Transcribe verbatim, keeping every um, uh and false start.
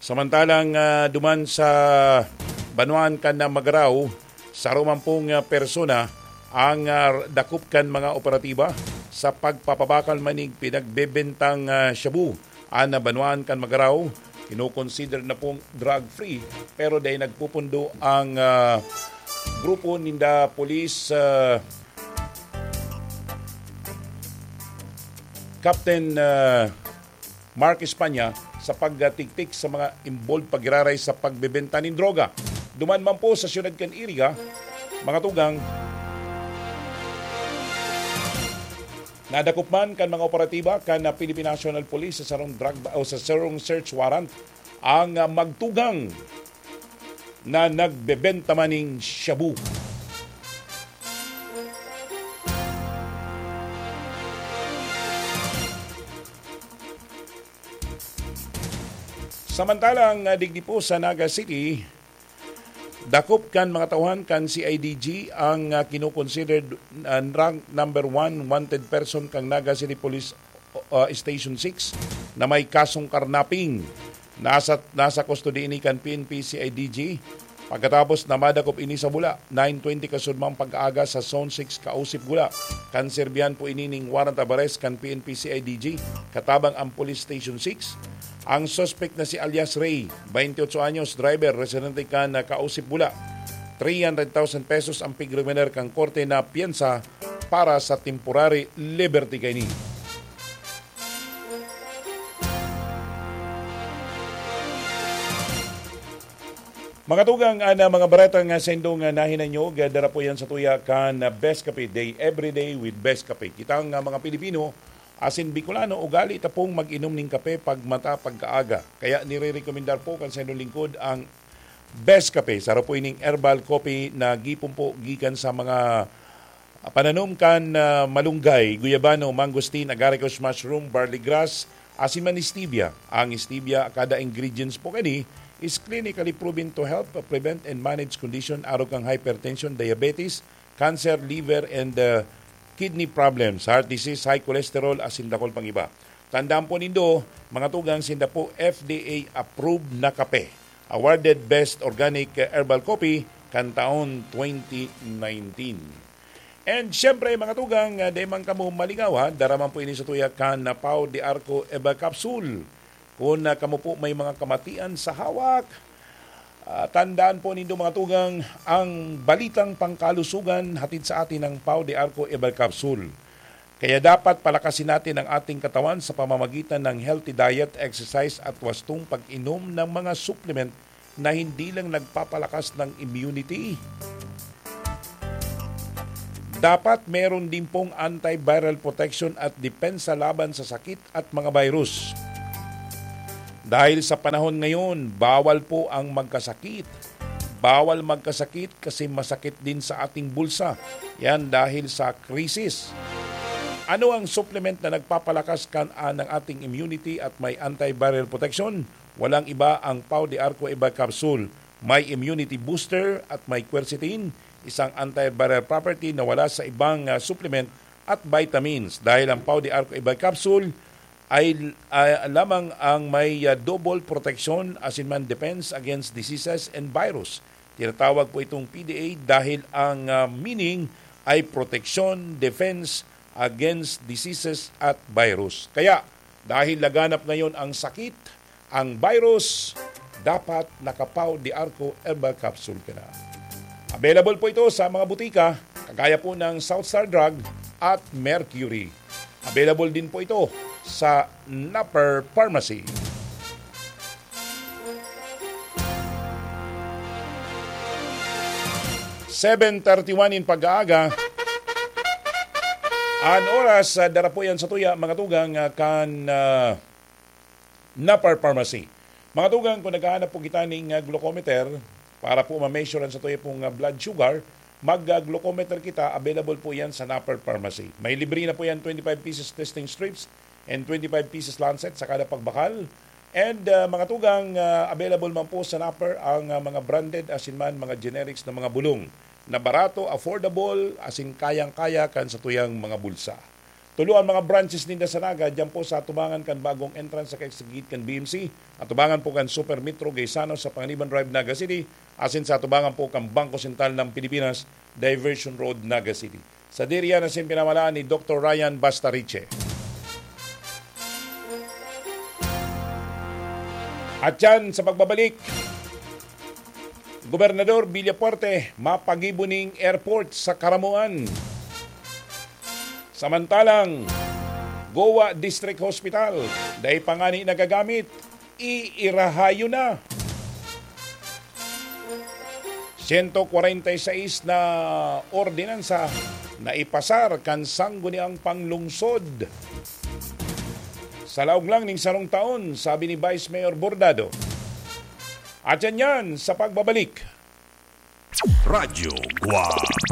Samantalang, ah, duman sa banwaan kan, ah, Magarao, saro man pong, ah, persona ang, ah, dakop kan mga operatiba sa pagpapabakal maning pinagbebentang, ah, shabu. An, ah, banwaan kan Magarao, kinokonsider na pong drug-free, pero dai nagpupundo ang, ah, grupo ninda pulis, ah, Captain, ah, Mark Espana sa pagtiktik sa mga involved pagiraray sa pagbebenta nin droga. Duman man po sa siyudad kan Iriga, mga tugang, nadakop man kan mga operatiba kan Philippine National Police sa sarong drug ba-, o sa sarong search warrant ang, ah, magtugang na nagbebenta maning shabu. Samantalang, ah, digdi po sa Naga City, dakop kan mga tauhan kan C I D G ang, ah, kinokonsidered, ah, rank number one wanted person kan Naga City Police, ah, Station six na may kasong karnaping. Nasa, nasa kustodiya ini kan P N P C I D G. Pagkatapos na madakop ini sa Bula, nine twenty kasudmang pag-aaga sa Zone six, Kausip, Bula, kan serbihan po ini ning warrant of arrest kan P N P C I D G, katabang ang Police Station six. Ang suspect na si alias Ray, twenty-eight anyos, driver, residente kan Kausip, Bula. Three hundred thousand pesos ang pigriminer kan korte na piyansa para sa temporary liberty kaini. Mga tugang, an, ah, mga bareta nga saindo nga nahinanyog, ah, dara po yan sa tuya kan, ah, Best Kape Day, every day with Best Kape. Kita nga mga Pilipino, asin Bicolano, ugali ta pong mag-inom ning kape pag mata pagkaaga. Kaya nire-recommendar po kan saindong lingkod ang Best Kape. Saro po ining herbal coffee na gipon po gikan sa mga pananom kan, ah, malunggay, guyabano, mangosteen, agaricus mushroom, barley grass, asin man stevia. Ang stevia, kada ingredients po kani is clinically proven to help prevent and manage condition arog kan hypertension, diabetes, cancer, liver, and, ah, kidney problems, heart disease, high cholesterol, asin dakul pang iba. Tandaan po nindo, mga tugang, sinda po F D A approved na kape. Awarded Best Organic Herbal Coffee kan taon twenty nineteen. And siyempre, mga tugang, ah, di man kamo malingaw, ha? Dara man po ini sa tuya kan, ah, Pau de Arco Eva Capsule. Kung, ah, kamo po may mga kamatian sa hawak, ah, tandaan po nindo, mga tugang, ang balitang pangkalusugan hatid sa atin ng Pau de Arco Eva Capsule. Kaya dapat palakasin natin ang ating katawan sa pamamagitan ng healthy diet, exercise at wastong pag-inom ng mga supplement na hindi lang nagpapalakas ng immunity. Dapat meron din pong antiviral protection at depensa laban sa sakit at mga virus. Dahil sa panahon ngayon, bawal po ang magkasakit. Bawal magkasakit kasi masakit din sa ating bulsa. Yan dahil sa krisis. Ano ang supplement na nagpapalakas kan, ah, ng ating immunity at may antiviral protection? Walang iba ang Pau de Arco Eva Capsule. May immunity booster at may quercetin, isang antiviral property na wala sa ibang, ah, supplement at vitamins. Dahil ang Pau de Arco Eva Capsule ay, ah, lamang ang may, ah, double protection asin man defense against diseases and virus. Tinatawag po itong P D A dahil ang, ah, meaning ay protection, defense against diseases at virus. Kaya, dahil laganap ngayon ang sakit, ang virus, dapat naka-Pau de Arco Herbal Capsule ka na. Available po ito sa mga butika, kagaya po ng South Star Drug at Mercury. Available din po ito sa Napper Pharmacy. Seven thirty-one in pag-aaga. An oras, ah, dara po yan sa tuya, mga tugang, ah, kan, ah, Napar Pharmacy. Mga tugang, kung naghahanap po kita ning, ah, glucometer para po ma-measure an satuya pong, ah, blood sugar, mag, ah, glucometer kita, available po yan sa Napar Pharmacy. May libre na po yan, twenty-five pesos testing strips and twenty-five pesos lancet sa kada pagbakal. And, ah, mga tugang, ah, available man po sa Napar ang, ah, mga branded asin man mga generics na mga bulong na barato, affordable, asin kayang-kaya kan satuyang mga bulsa. Tulo ang mga branches ninda sa Naga, diyan po sa atubangan kan bagong entrance sa kaigsigit kan B M C, atubangan po kan Super Metro Gaisano sa Panganiban Drive, Naga City, asin sa atubangan po kan Bangko Sentral ng Pilipinas, Diversion Road, Naga City. Sa diyan na sin pinamalaan ni Doktor Ryan Bastariche. At yan sa pagbabalik, Gobernador Villafuerte, mapagibo ning airport sa Caramoan. Samantalang, Goa District Hospital, dai pa ngani nagagamit, iirahayo na. Sento kwarenta y seis na ordinansa na ipasar kan sangguniang panglungsod. Sa laog lang ning sarong taon, sabi ni Vice Mayor Bordado. At yan yan sa pagbabalik. Radyo Guwang.